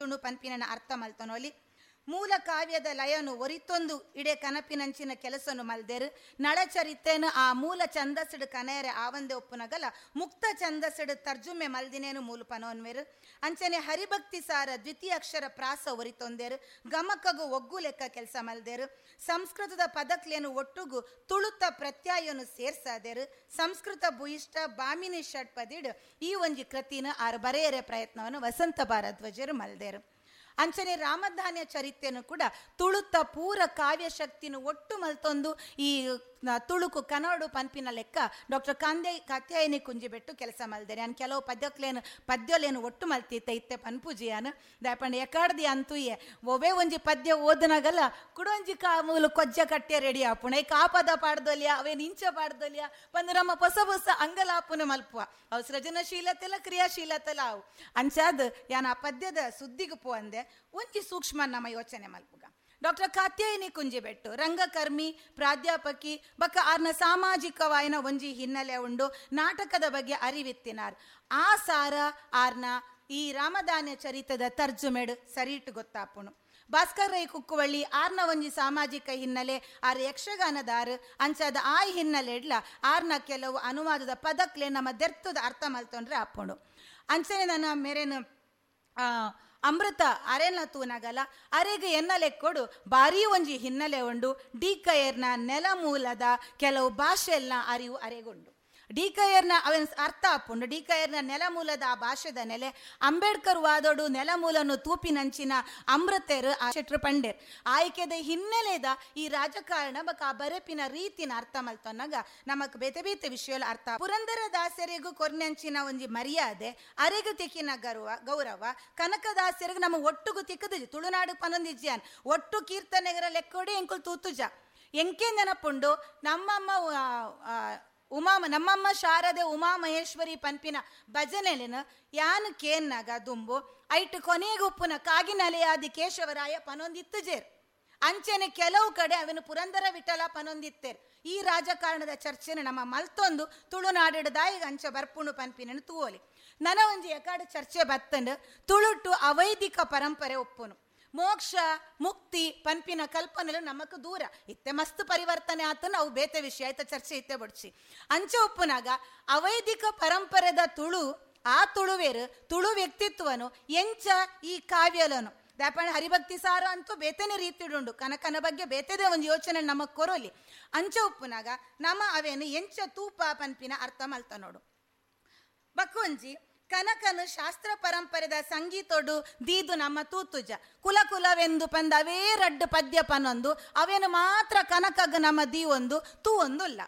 ಬೈದುಂಡು ಪನ್ಪಿನ ಅರ್ಥ ಮಲ್ತೊನೊಲಿ. ಮೂಲ ಕಾವ್ಯದ ಲಯನು ಒರಿತೊಂದು ಇಡೆ ಕನಪಿನಂಚಿನ ಕೆಲಸನು ಮಲ್ದೆರು. ನಳಚರಿತೆನು ಆ ಮೂಲ ಛಂದಸ್ಸುಡು ಕನೆಯರೆ ಆವಂದೆ ಒಪ್ಪುನಗಲ ಮುಕ್ತ ಛಂದಸ್ಸುಡು ತರ್ಜುಮೆ ಮಲ್ದಿನೇನು ಮೂಲ ಪನೋನ್ವೆರು. ಅಂಚನೆ ಹರಿಭಕ್ತಿ ಸಾರ ದ್ವಿತೀಯ ಅಕ್ಷರ ಪ್ರಾಸ ಒರಿತೊಂದೇರು, ಗಮಕಗು ಒಗ್ಗು ಲೆಕ್ಕ ಕೆಲಸ ಮಲ್ದೇರು. ಸಂಸ್ಕೃತದ ಪದಕ್ಲೇನು ಒಟ್ಟುಗು ತುಳುತ ಪ್ರತ್ಯಯನು ಸೇರ್ಸಾದೇರು. ಸಂಸ್ಕೃತ ಭೂಯಿಷ್ಠ ಬಾಮಿನಿ ಷಟ್ಪದಿಡು ಈ ಒಂಜಿ ಕೃತಿನ ಆರು ಬರೆಯರೆ ಪ್ರಯತ್ನವನ್ನು ವಸಂತ ಭಾರದ್ವಾಜರು ಮಲ್ದೇರು. ಅಂಚನೆ ರಾಮಧಾನ್ಯ ಚರಿತ್ರೆಯನ್ನು ಕೂಡ ತುಳುತ ಪೂರ ಕಾವ್ಯಶಕ್ತಿನ ಒಟ್ಟು ಮಲ್ತೊಂದು ಈ ತುಳುಕು ಕನ್ನಡ ಪನ್ಪಿನ ಲೆಕ್ಕ ಡಾಕ್ಟರ್ ಕಾತ್ಯಾಯಿನಿ ಕುಂಜಿಬೆಟ್ಟು ಕೆಲಸ ಮಲ್ದೇನೆ. ನಾನು ಕೆಲವು ಪದ್ಯಕ್ಲೇನು ಪದ್ಯಲೇನು ಒಟ್ಟು ಮಲ್ತಿತ್ತೆ ಇತ್ತೆ ಪನ್ಪುಜಿಯಾನು ದಾಪಂಡ ಎಕಾಡ್ದಿ ಅಂತುಯೆ ಒವೇ ಒಂಜಿ ಪದ್ಯ ಓದನಾಗಲ್ಲ ಕುಡೊಂಜಿ ಕಾ ಮೂಲು ಕೊಜ್ಜ ಕಟ್ಟೆ ರೆಡಿ ಆಪುಣ ಈ ಕಾಪದ ಪಾಡ್ದೊಲಿಯ ಅವೇನು ಇಂಚ ಪಾಡ್ದೊಲಿಯ ಪಂದು ನಮ್ಮ ಹೊಸ ಹೊಸ ಅಂಗಲಾಪುನ ಮಲ್ಪುವ ಅವು ಸೃಜನಶೀಲತೆಲ್ಲ ಕ್ರಿಯಾಶೀಲತೆಲ್ಲ ಅವು ಅಂಚಾದ್ ಯಾನ್ ಆ ಪದ್ಯದ ಸುದ್ದಿಗೆ ಪೋ ಅಂದೆ ಒಂಜಿ ಸೂಕ್ಷ್ಮ ನಮ್ಮ ಯೋಚನೆ ಮಲ್ಪುಗ. ಡಾಕ್ಟರ್ ಕಾತ್ಯಾಯಿನಿ ಕುಂಜಿಬೆಟ್ಟು ರಂಗಕರ್ಮಿ ಪ್ರಾಧ್ಯಾಪಕಿ ಬಕ್ಕ ಆರ್ನ ಸಾಮಾಜಿಕವಾಯಿನ ಒಂಜಿ ಹಿನ್ನೆಲೆ ಉಂಡು, ನಾಟಕದ ಬಗ್ಗೆ ಅರಿವಿತ್ತಿನಾರ್. ಆ ಸಾರ ಆರ್ನ ಈ ರಾಮದಾನ್ಯ ಚರಿತದ ತರ್ಜುಮೆಡು ಸರಿಟು ಗೊತ್ತಾಪುಣು. ಭಾಸ್ಕರ್ ರೈ ಕುಕ್ಕುವಳ್ಳಿ ಆರ್ನ ಒಂಜಿ ಸಾಮಾಜಿಕ ಹಿನ್ನೆಲೆ, ಆರ್ ಯಕ್ಷಗಾನದಾರು ಅಂಚಾದ ಆ ಹಿನ್ನೆಲೆ ಇಡ್ಲ ಆರ್ನ ಕೆಲವು ಅನುವಾದದ ಪದಕ್ಲೆ ನಮ್ಮ ದೆರ್ತದ ಅರ್ಥ ಮಲ್ತೊಂಡ್ರೆ ಆಪುಣು. ಅಂಚನೆ ನನ್ನ ಮೇರೇನು ಅಮೃತ ಅರೆನ ತೂನಗಲ ಅರೆಗೆ ಎನ್ನ ಲೆಕ್ಕೊಡು ಭಾರೀ ಒಂಜಿ ಹಿನ್ನೆಲೆ ಉಂಡು. ಡಿ ಕಯರ್ನ ನೆಲಮೂಲದ ಕೆಲವು ಭಾಷೆಲ್ಲ ಅರಿವು ಅರೆಗುಂಡು. ಡಿ ಕಯರ್ನ ಅವನ ಅರ್ಥ ಆಪುಂಡು. ಡಿ ಕಯರ್ನ ನೆಲಮೂಲದ ಆ ಭಾಷೆದ ನೆಲೆ ಅಂಬೇಡ್ಕರ್ ವಾದೋಡು ನೆಲಮೂಲನು ತೂಪಿನಂಚಿನ ಅಮೃತೆರು ಆ ಶೆಟ್ರು ಪಂಡೇರ್ ಆಯ್ಕೆದ ಹಿನ್ನೆಲೆದ ಈ ರಾಜಕಾರಣ ಬಕ ಆ ಬರೆಪಿನ ರೀತಿನ ಅರ್ಥ ಮಲ್ತೊನ್ನಾಗ ನಮಕ್ ಬೇತೆ ಬೇತೆ ವಿಷಯ ಅರ್ಥ. ಪುರಂದರ ದಾಸರಿಗೂ ಕೊರ್ನಂಚಿನ ಒಂಜಿ ಮರ್ಯಾದೆ, ಅರೆಗು ತಿಕ್ಕಿನ ಗೌರವ, ಕನಕದಾಸರಿಗೆ ನಮ್ಮ ಒಟ್ಟುಗು ತಿಕ್ಕದು ತುಳುನಾಡು ಪನೊಂದಿಜ್ಯಾನ್ ಒಟ್ಟು ಕೀರ್ತನೆಗರ ಲೆಕ್ಕೋಡಿ ಎಂಕುಲ್ ತೂತುಜ ಎಂಕೆ ನೆನಪುಂಡು. ನಮ್ಮಮ್ಮ ಉಮಾ ನಮ್ಮಮ್ಮ ಶಾರದೆ ಉಮಾ ಮಹೇಶ್ವರಿ ಪನ್ಪಿನ ಭಜನೆಲಿನ ಯಾನ್ ಕೇನ್ನಾಗ ದುಂಬು ಐಟ್ ಕೊನೆಗೆ ಉಪ್ಪುನ ಕಾಗಿನಲೆಯಾದಿ ಕೇಶವರಾಯ ಪನೊಂದಿತ್ತು ಜೇರ್. ಅಂಚೆನೆ ಕೆಲವು ಕಡೆ ಅವನು ಪುರಂದರ ವಿಠಲ ಪನೊಂದಿತ್ತೇರ್. ಈ ರಾಜಕಾರಣದ ಚರ್ಚೆನ ನಮ್ಮ ಮಲ್ತೊಂದು ತುಳುನಾಡಿಡದಾಯಿಗ ಅಂಚೆ ಬರ್ಪುಣು ಪನ್ಪಿನ ತೂವಲಿ. ನನ ಒಂಜಿ ಎಕಾಡು ಚರ್ಚೆ ಬತ್ತಂಡು ತುಳುಟು ಅವೈದಿಕ ಪರಂಪರೆ ಒಪ್ಪುನು, ಮೋಕ್ಷ ಮುಕ್ತಿ ಪನ್ಪಿನ ಕಲ್ಪನೆಲು ನಮಕ್ ದೂರ ಇತ್ತೆ ಮಸ್ತ್ ಪರಿವರ್ತನೆ ಆತನ ಅವು ಬೇತೆ ವಿಷಯ ಆಯ್ತ ಚರ್ಚೆ ಇತ್ತೆ ಬಡ್ಚಿ. ಅಂಚೆ ಒಪ್ಪುನಾಗ ಅವೈದಿಕ ಪರಂಪರೆದ ತುಳು ಆ ತುಳುವೇರು ತುಳು ವ್ಯಕ್ತಿತ್ವನು ಎಂಚ ಈ ಕಾವ್ಯಲನು ದಾಪಣ ಹರಿಭಕ್ತಿ ಸಾರ ಅಂತೂ ಬೇತನೆ ರೀತಿಡುಂಡು, ಕನಕನ ಬಗ್ಗೆ ಬೇತೆದೇ ಒಂದು ಯೋಚನೆ ನಮಗ್ ಕೊರೋಲಿ. ಅಂಚೆ ಉಪ್ಪುನಾಗ ನಮ್ಮ ಅವೇನು ಎಂಚ ತೂಪ ಪನ್ಪಿನ ಅರ್ಥ ಮಲ್ತ ನೋಡು. ಬಕ್ಕೊಂಜಿ ಕನಕನು ಶಾಸ್ತ್ರ ಪರಂಪರೆದ ಸಂಗೀತೋಡು ದೀದು ನಮ್ಮ ತೂತುಜ ಕುಲ ಕುಲವೆಂದು ಪಂದ ಅವೇ ರಡ್ಡು ಪದ್ಯ ಪನೊಂದು ಅವೇನು ಮಾತ್ರ ಕನಕಗ ನಮ್ಮ ದೀವೊಂದು ತೂ ಒಂದುಲ್ಲ.